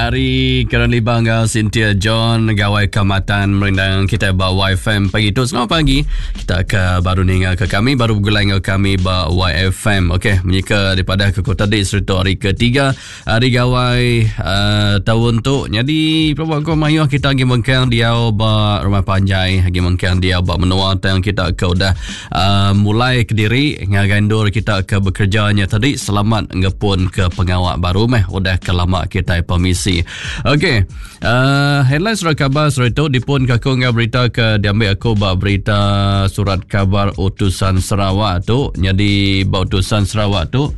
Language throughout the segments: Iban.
Ari Karen Liba enggau Cynthia John Gawai Kamatan merindang kita ba YFM pagi tu. Selamat pagi. Kita ke baru ninga ke kami, baru begulai enggau kami ba YFM. Okey, menyika daripada ke kota di serta hari ketiga hari Gawai uh, tahun tu. Jadi, pelabak ko mayuh kita agi mengkang diau ba rumah panjai, agi mengkang diau ba menua tang kita ke udah uh, mulai kediri ngagai endur kita ke bekerja nya tadi selamat ngepun ke pengawa baru meh udah ke lama kita permisi. Okey, uh, headline surat khabar surat itu dipun ke aku enggau berita ke diambil aku ba berita surat khabar Utusan Sarawak tu. Jadi ba Utusan Sarawak tu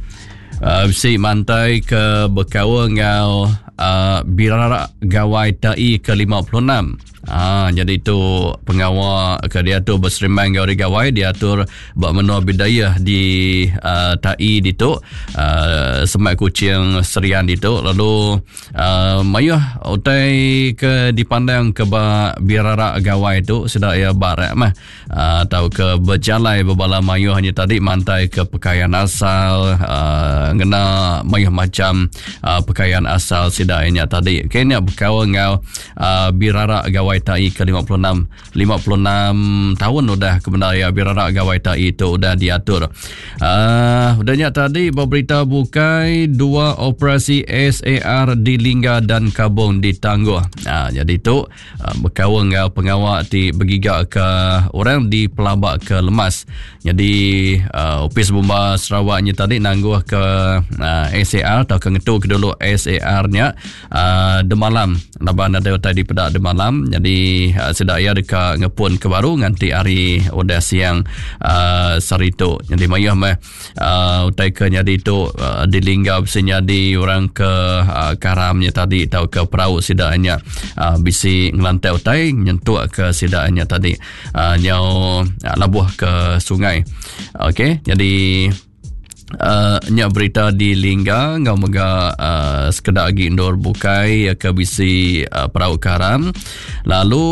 uh, bisi mantai ke bekaul enggau uh, Birarak Gawai Tai ke 56. Ha, jadi tu pengawa ke diatur beserimbai enggau Hari Gawai diatur ba menua Bidayuh di uh, Tai ditu uh, semak Kuching Serian ditu lalu uh, mayuh utai ke dipandang ke ba Birarak Gawai tu sida iya barak mah uh, tauka bejalai bebala mayuh nya tadi mantai ke pakaian asal uh, ngena mayuh macam uh, pakaian asal sida nya tadi. Okey nya bekaul enggau uh, Birarak Gawai Tai ke 56 56 tahun udah kebenar ya Birarak Gawai Tai itu udah diatur. Uh, udah nya tadi berita bukai dua operasi SAR di Lingga dan Kabong ditangguh. Uh, jadi tu Ah, bekaul enggau pengawa ti begiga ke orang di pelaba ke lemas. Jadi uh, Opis Bomba Sarawak nya tadi nangguh ke uh, ah, SAR atau ke ngetu ke dulu SAR nya uh, demalam laban ada utai di peda demalam. Jadi uh, sida ia deka ngepun ke baru nganti hari udah siang uh, sehari tu. Jadi mayuh meh uh, utai ke nyadi tu uh, dilingga bisi nyadi orang ke uh, karam nya tadi tau ke perau sida nya uh, bisi ngelantai utai nyentuk ke sida nya tadi uh, nyau uh, labuh ke sungai. Okey, jadi Uh, nya berita di Lingga enggau mega uh, sekeda agi endur bukai ke bisi uh, perau karam. Lalu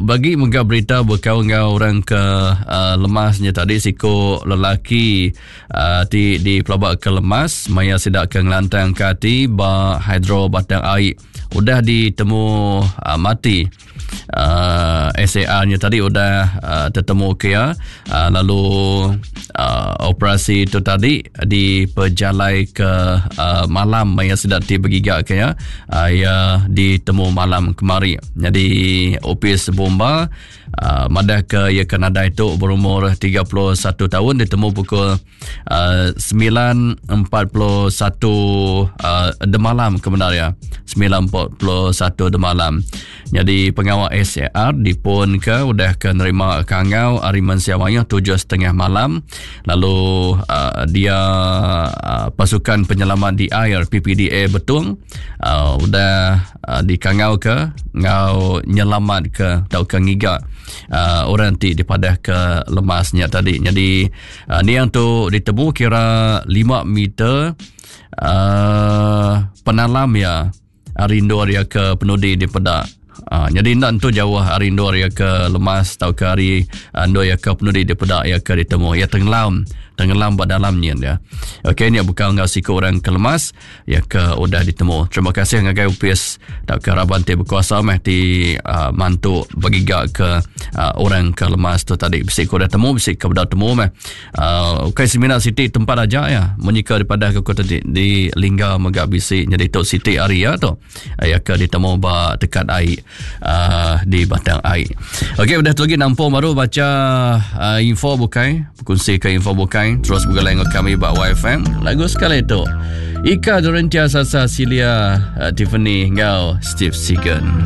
bagi mega berita bekaul enggau orang ke uh, lemas nya tadi siku lelaki uh, ti dipelaba ke lemas maya sida ke ngelantang ke ati ba hidro Batang Ai udah ditemu uh, mati. Uh, SAR nya tadi udah uh, tetemu ke iya uh, lalu uh, operasi itu tadi dipejalai ke uh, malam maya sida ti begiga ke iya uh, iya ditemu malam kemari. Jadi opis bomba uh, madah ke iya ke nadai tu berumur 31 tahun ditemu pukul uh, 9.41 uh, demalam ke benar ya. 9.41 demalam. Jadi pengawa SAR dipun ke udah ke nerima kangau hari mensia mayuh 7.30 malam lalu uh, dia uh, pasukan penyelamat di air PPDA Betung uh, udah uh, dikangau ke ngau nyelamat ke tau ke ngiga uh, orang ti dipadah ke lemasnya tadi. Jadi uh, ni yang tu ditemu kira 5 meter uh, penalam ya ari endur iya ke penudi dipeda. Uh, jadi enda entu jauh ari endur iya ke lemas tauka ari endur iya ke penudi dipeda iya ke ditemu. Iya tenggelam, tenggelam ba dalam nyin dia. Okey nya bukan enggau siku orang ke lemas iya ke udah ditemu. Terima kasih ngagai upis tauka raban ti bekuasa meh ti uh, mantu begiga ke uh, orang ke lemas tu tadi. Bisi ke udah temu, bisi ke bedau temu meh. Uh, ukai semina siti tempat aja ya. Menyika daripada ke kota di, di Lingga mega bisi nyadi tu siti hari ya tu. Ya ke ditemu ba tekat ai uh, di Batang Ai. Okey udah tu lagi nampung baru baca uh, info bukai, berkongsi ke info bukai terus bergulai dengan kami ba YFM. Lagu sekali tu. Ika Dorentia Sasa Silia uh, Tiffany enggau Steve Segan.